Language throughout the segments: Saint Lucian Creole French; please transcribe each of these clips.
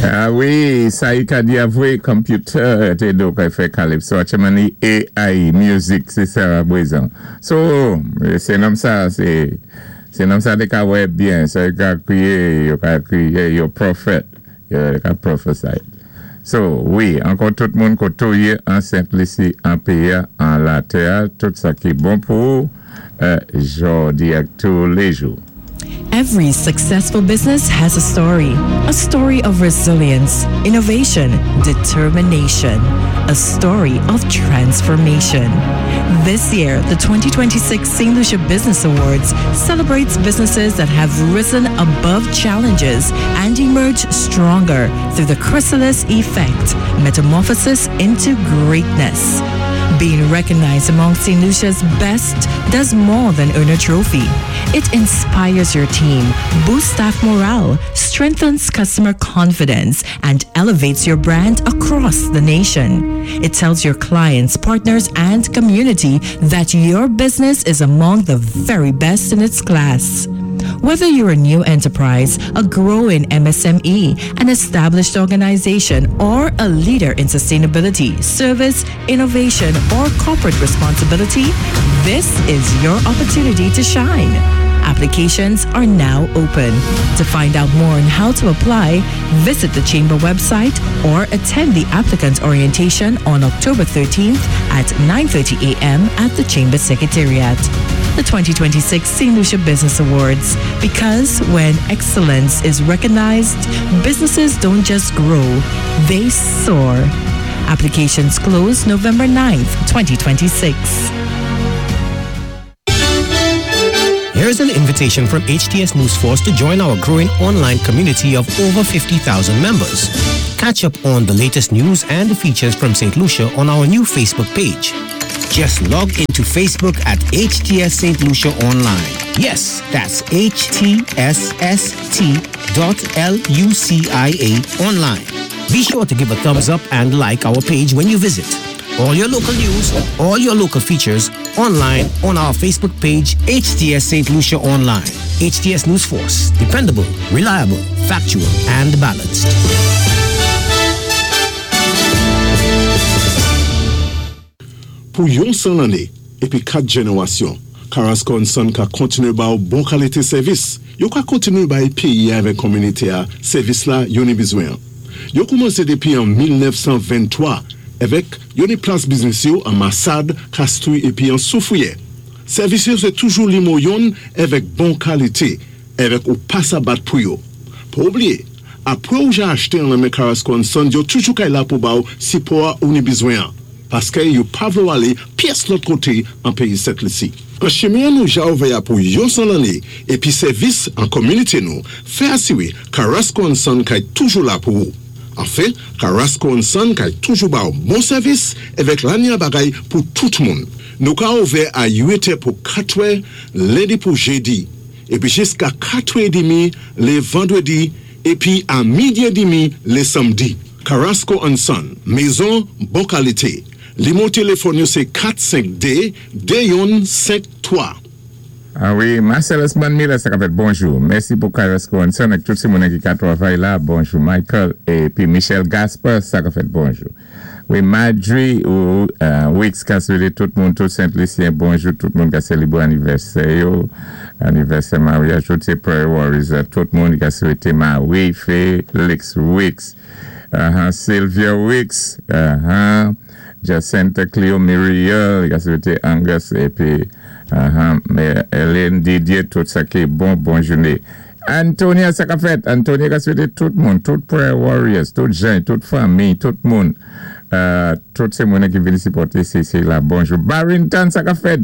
Ah wi, sa i ka di a vwé, computer té do kay fè calypso, atchèman ni AI music, sé sa bwézan. So, sé nonm sa, sé sé nonm sa té ka wè byen, so yo ka kwiyé, yo ka kwiyé, yo prophet, yo ka prophesy. So, wi, ankò tout moun koté ou yé an Sent Lisi, an péyi a, an latè a, tout sa ki bon pou ou, jòdi ak tou lé jou. Every successful business has a story. A story of resilience, innovation, determination. A story of transformation. This year, the 2026 St. Lucia Business Awards celebrates businesses that have risen above challenges and emerged stronger through the chrysalis effect, metamorphosis into greatness. Being recognized among St. Lucia's best does more than earn a trophy. It inspires your team, boosts staff morale, strengthens customer confidence, and elevates your brand across the nation. It tells your clients, partners, and community that your business is among the very best in its class. Whether you're a new enterprise, a growing MSME, an established organization, or a leader in sustainability, service, innovation, or corporate responsibility, this is your opportunity to shine. Applications are now open. To find out more on how to apply, visit the Chamber website or attend the applicant orientation on October 13th at 9:30 a.m. at the Chamber Secretariat. The 2026 St. Lucia Business Awards. Because when excellence is recognized, businesses don't just grow, they soar. Applications close November 9th, 2026. Here's an invitation from HTS Newsforce to join our growing online community of over 50,000 members. Catch up on the latest news and features from St. Lucia on our new Facebook page. Just log into Facebook at HTS St. Lucia Online. Yes, that's HTSST dot L-U-C-I-A online. Be sure to give a thumbs up and like our page when you visit. All your local news, all your local features, online on our Facebook page, HTS St. Lucia Online. HTS News Force, dependable, reliable, factual, and balanced. Pou yon 100 lanné épi 4 jènérasyon, Carrasco and Son ka kontinué ba-w bon kalité sèvis. Yo ka kontinué bay péyi a avèk kominité a sèvis la yo ni bizwen an. Yo koumansé dépi an 1923 èvèk yo ni plas biznis yo an Masad, Kastri épi an Soufriyè. Sèvis yo sé toujou limo yonn èvèk bon kalité èvèk ou pa sa bat pou yo. Pa oublié, apwé ou ja achte an lan men Carrasco and Son yo toujou kay la pou ba-w sipò a ou ni bizwen an. Paskè yo pa vlé w alé pyès lòt koté an péyi Sent Lisi. An chimen an nou ja ouvè a pou yon 100 lanné épi sèvis an kominité nou fè asiré Carrasco and Son kay toujou la pou ou. Anfen, Carrasco and Son kay toujou ba w bon sèvis èvèk lanya bagay pou tout moun. Nou ka ouvè a 8 è pou 4 è lendi pou jedi épi jiska 4 è demi lé vandredi épi a midi è demi lé samdi. Carrasco and Son, mezon bon kalite. Limo téléfòn yo sé 4 5 2 2 yonn 5 3. Ah wi, Marcellus Miller sa ka fèt bonjou. Mèsi pou Carrasco and Son ak tout ti moun ki ka twavay la. Bonjou Michael épi Michel Gaspar sa ka fèt bonjou. Wi Madry ou Wix ka swété tout moun tout Sent Lisyen bonjou tout moun ka sélébré anivèsè yo anivèsè maryaj tout sé prayer warriors tout moun ka swété Marie Felix Wix Sylvia Wix Jacinta Cleo Muriel ka swété Angus épi Hélène Didier tout sa ki bon bon jouné Antonia sa ka fèt Antonia ka swété tout moun tout prayer warriors tout jen tout fanmi tout moun tout sé moun ki vin sipòté CC la bonjou Barrington sa ka fèt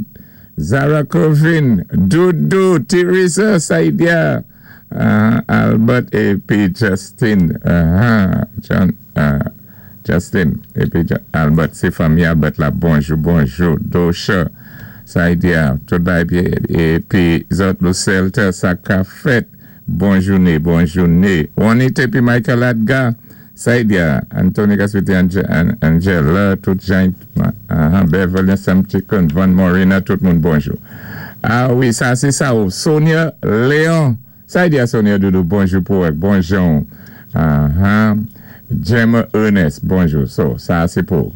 Zara Covin Doudou Teresa Saidia Albert épi Justin John Justin épi Albert sé fanmi Albert la bonjou bonjou Dosha Saidia tout bagay épi zòt Lucelta sa ka fèt bon jouné bon jouné Juanita épi Michael Adga Saidia Anthony ka swété Angela tout jan Beverly Sam Chicken Van Morina tout moun bonjou ah wi sa sé sa ou Sonia Léon Saidia Sonia Doudou bonjou pou ou ak bon jan ou. Uh-huh. Gemma Ernest, bonjou. So, sa sé pou.